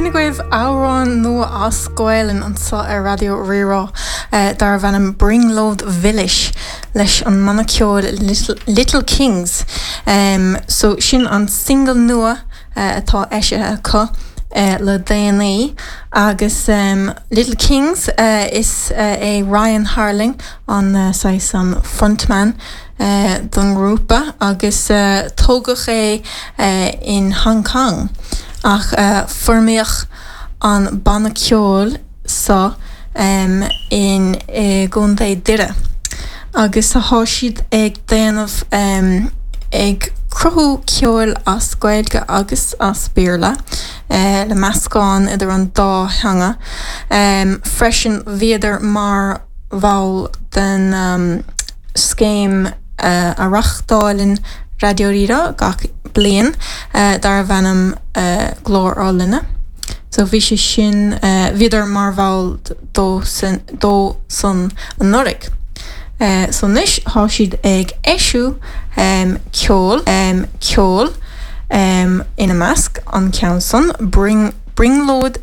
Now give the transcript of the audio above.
Sin agaibh amhrán nua as Gaelainn anseo ar Raidió Rí-Rá darbh ainm Brionglóid Mhilis leis an mbanna ceoil Little Kings. So sin an single nua atá eisithe acu le déanaí agus Little Kings is é Ryan Harling an saghas an frontman don ngrúpa agus tógadh é in Hong Kong ach foirmíodh an banna ceoil seo in i gContae Doire agus tá siad ag déanamh ag cruthú ceoil as Gaeilge agus as Béarla le meascán idir an dá theanga. Freisin bhíodar mar bhall den scéim a reáchtálann Raidió Rí-Rá gach bliain darbh ainm Glór ár Linne. So bhí sé sin, bhíodar mar bhall dó san dó san anuraidh. So anois tá siad ag eisiú ceol ceol ina measc an ceann san, Brionglóid.